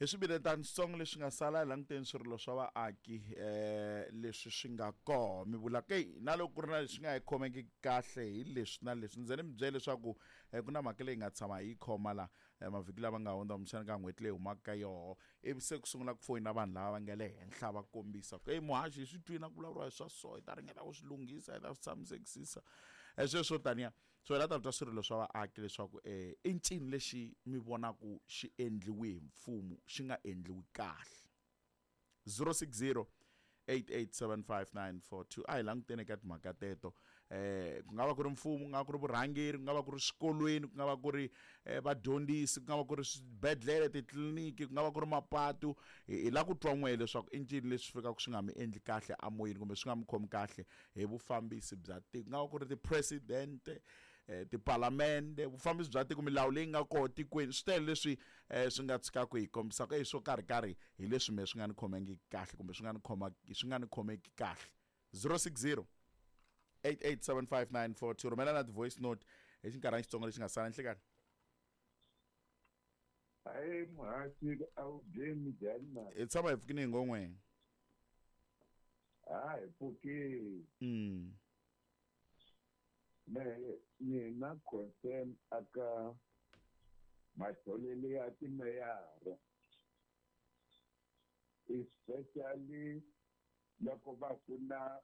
Hi swibiletanitsongo leswi nga sala hi languteni swirilo swa vaaki um leswi swi nga koho mi vula ke na loko ku ri na leswi nga hi khomeki kahle hi leswi na leswi ndzi ni mi byele leswaku um ku na mhaka leyi nga tshama hi yi khoma la mavhiki lama nga hundza kumbexana ka n'hweti leyi humaka ka yoho ivi se ku sungula ku foyina vanhu lava va nga le henhla va kombisa ku eyi muhaxi hi swi twini a ku vulavuriwa hi swa so hi ta ringeta ku swi lunghisa hi ta swi tshamisekisisa sweswo taniya. So hi la ta twa swirilo swa vaaki leswaku um i ncini lexi mi vonaku xi endliwi hi mfumo xi nga endliwi kahle. 060 8875942 a hi languteni eka timhaka teto eh ku nga va ku ri mfumo ku nga va ku ri vurhangeri ku nga va ku ri swikolweni ku nga va ku ri eh, vadyondzisi ku nga va ku ri swibedhlele titliliniki ku nga va ku ri mapatu hi la ku twa n'we leswaku i ncini leswi fikaka swi nga mi endli kahle amoyeni kumbe swi nga mi khomi kahle hi vufambisi bya tiko ku nga va ku ri ti-president tipalamende vufambisi bya tiko milawu leyi nga koho tikweni swi tele leswi swi nga tshikaka hi kombisaka e swo karhi karhi hi leswi me swi nga ni khomangiki kahle kumbe swi nga ni khoma swi nga ni khomeki kahle. 060 8875942 rhumela na ti-voice note hi xinkarhana xitsongo lexi nga sala. Nhlekani. Hayi muhaxi a wu byeni njhani na? Hi tshama hi pfukini hi ngon'we. Ha hi pfukile. Me ni na concern aka matholelo ya timeyara, especially loko va ku na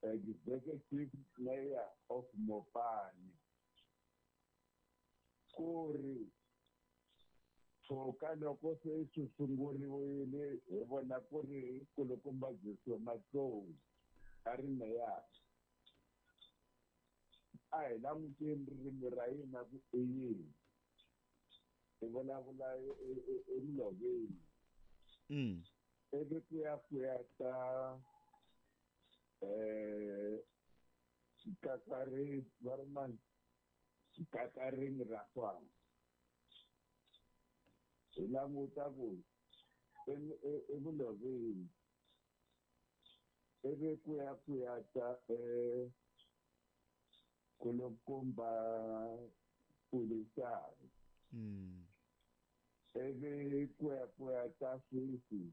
executive mayor of Mopani, ku ri tshoka loko se swi sunguriwile hi vona ku ri kulukumba Joshua Matlou a ri meyara. A hi languteni ririmi ra yena ku i yini, hi vulavula emiloveni. Ivi ku ya ku ya ta xikakari va ri mani xikakarini ra kwala, hi languta ku evuloveni. Ivi ku ya ku ya ta kulukumba Pulisani. Ivi ku ya ku ya ta sweswi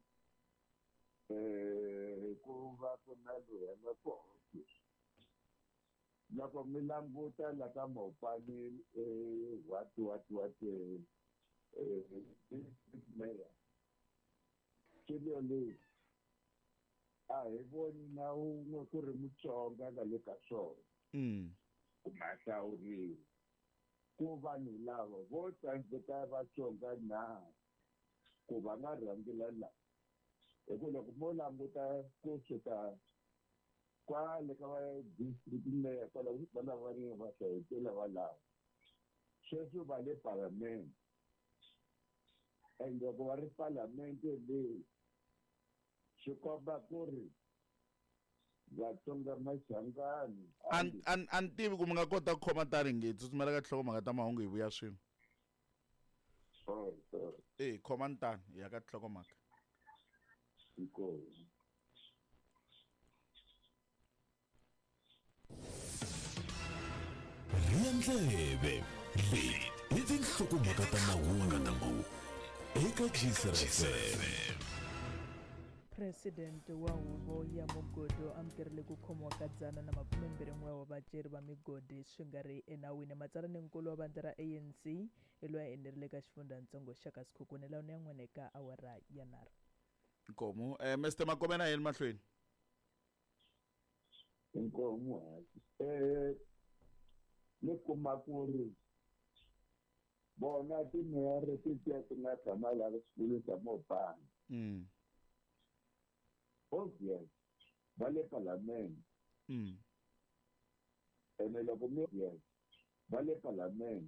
ku va ku na loyi a nga koho sweswi. Loko mi languta la ka Mopani what what what district mayor swilo leswi a hi voni na wun'we ku ri Mutsonga nga le ka swona. Kumbe a hlawuriwa ku vanhu lava vo tsandzeka Vatsonga na ku va nga rhangela la, hi ku loko mo languta kusuka kwale ka va district mayor kwala va lava va va hlayetela va lava sweswi va le parliament, and loko va ri parliament leyi swi komba ku ri Vatsonga Machangani. A ni tivi ku mi nga kota ku khoma tani nge tsutsumela ka tinhlokomhaka ta mahungu hi vuya swin'we. Sorry, sorry. E khomani tani hi ya ka tinhlokomhaka. Inkomu. Rhiya ndleve, leti i tinhlokomhaka ta mahungu eka Gcr FM. President wa huvo ya mugodi u amukerile ku khomiwa ka 121 wa vaceri va migodi swi nga ri enawini. Matsalaninkulu wa vandla ra ANC i loyi a enerile ka xifundzatsongo xa ka Sekhukhune laha ya n'wene ka awara ya nharhu. Nkomu. Mr Makomena yeni mahlweni. Inkomu hayi. Ni kuma ku ri vona timeyara tetiya ti nga tshama laha swikolo swa Mopani. Obvious va le parliament. Ene loko mi obvious va le parliament.